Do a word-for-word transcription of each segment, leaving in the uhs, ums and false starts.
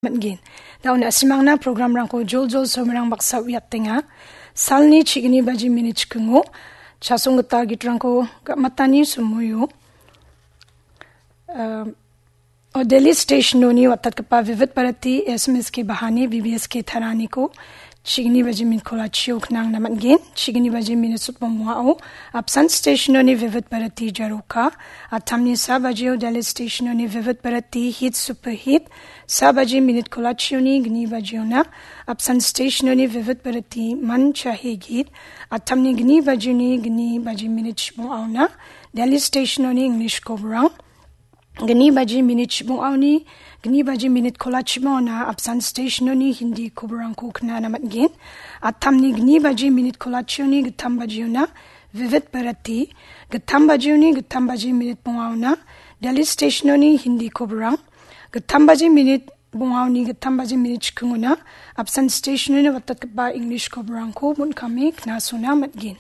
man·gen. Da·o na·simangna programrangko joljol somerang baksa uiatenga. Salni chigni baji minit chikingo chasong gita gitrangko ga·matani somoio, ah, O Delhi Stationoni watatgipa Vivid Bharati S M S K Bahani B B S K Taraniko chigni baji minit kolachio knangna man·gen. Chigni baji minit sotbong mongao Apsan Stationoni Vivid Bharati Jaroka, atamni sa bajio Delhi Stationoni Vivid Bharati Hit Super Hit, sa baji minit kolachioni gni bajiona Apsan Stationoni Vivid Bharati Man Chahe Git, atamni gni bajioni gni baji minit chimongaona Delhi Stationoni English koborang. Gni baji minit chimongaoni, gni baji minit kolachimona Apsan Stationoni Hindi koborangko knana man·gen. Atamni gni baji minit kolachioni gittam bajiona Vivid Bharati, gittam bajioni gittam baji minit bongaona Delhi Stationoni Hindi koborang, gittam baji minit bongaoni gittam baji minit chikingona Apsan Stationoni watatgipa English koborangko bon·kame knasona man·gen.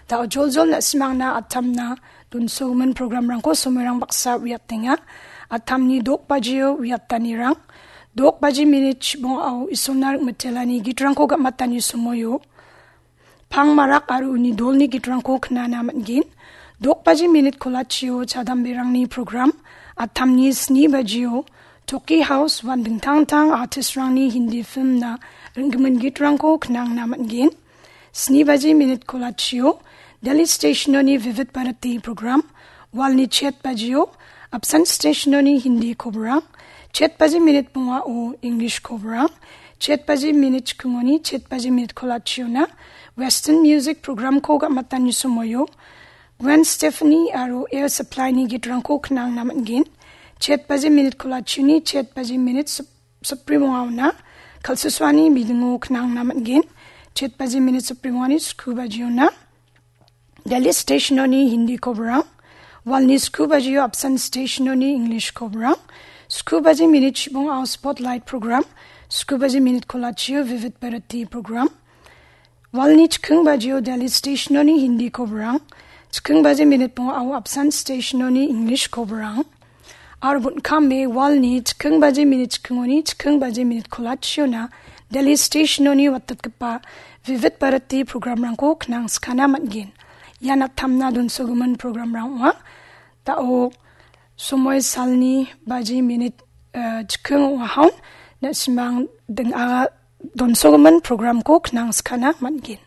Da·o joljol na·simangna atamna donsogimin programrangko somerang baksa uiatenga. Atamni dok bajio uiatanirang, dok baji minit chibongao Isolna Rikmitelani gitrangko ga·matani somoio Pang Marak aro uni dolni gitrangko knana man·gen. Dok baji minit kolachio chadamberangni program, atamni sni bajio Toki House wan dingtang dingtang artistrangni Hindi filmna ring·gimin gitrangko knangna man·gen. Sni baji minit kolachio Delhi Stationoni Vivid Bharati program, walni chet bajio Apsan Stationoni Hindi koborang, chet baji minit bongao English koborang, chet baji minit chikingoni chet baji minit kolachiona Western Music programko ga·matani somoio Gwen Stefani aro Air Supplyni gitrangko knangna man·gen. Chet baji minit kolachioni chet baji minit sop-, sopri bongaona Kalsusuani bidingo knangna man·gen. Chet baji minit sopri bongani sku bajiona Delhi Stationoni Hindi koborang, walni sku bajio Apsan Stationoni English koborang, sku baji minit chibongao Spotlight program, sku baji minit kolachio Vivid Bharati program, walni chiking bajio Delhi Stationoni Hindi koborang, chiking baji minit bongao Apsan Stationoni English koborang, aro bon·kame walni chiking baji minit chikingoni chiking baji minit kolachiona Delhi Stationoni watatgipa Vivid Bharati programrangko knangskana man·gen. Ian atamna donsogimin programrang ong·a. Da·o somoi salni baji minit, eh, chiking ong·ahon na·simang ding·a donsogimin programko knangskana man·gen.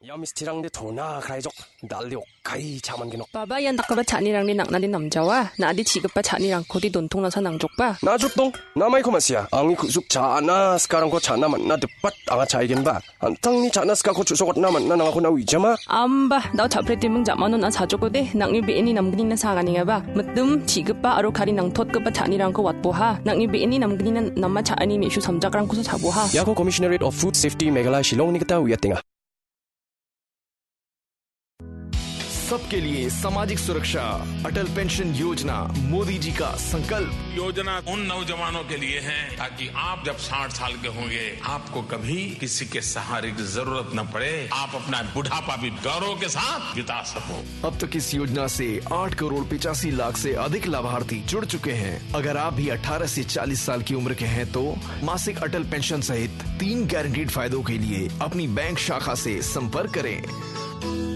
Ia mistirangde tona kraijok, dalde okkai cha·mangenok. Baba, ian dakgipa cha·anirangde nang·nade namjawa. Na·ade chi·gipa cha·nirangkode dontong nasa nangjokba. Najuk dong, namaiko ma·sia. Angni ku·suk cha·na sikarangko cha·na man·na dipbat anga cha·aigenba. An·tangni cha·na sikako chu·sokatna man·na nangako na uijama? Amba, dao cha·pretiming jamano na·a chajokode, nang·ni be·eni namgnina saganengaba. Mitim, chi·gipa aro kari nangtotgipa cha·nirangko watboha. Nang·ni be·eni namgnina nama cha·ani me·su samjakrangkosa chaboha. Iako Commissionerate of Food Safety Meghalaya Shillongni gita uiatenga. सबके लिए सामाजिक सुरक्षा, अटल पेंशन योजना, मोदी जी का संकल्प। योजना उन नौजवानों के लिए है, ताकि आप जब साठ साल के होंगे, आपको कभी किसी के सहारे की जरूरत न पड़े, आप अपना बुढ़ापा भी गौरव के साथ बिता सको। अब तक इस योजना से आठ करोड़ पिचासी लाख से अधिक लाभार्थी जुड़ चुके हैं। अगर आप भी अठारह से चालीस साल की उम्र के हैं, तो मासिक अटल पेंशन सहित तीन गारंटीड फायदों के लिए अपनी बैंक शाखा से संपर्क करें।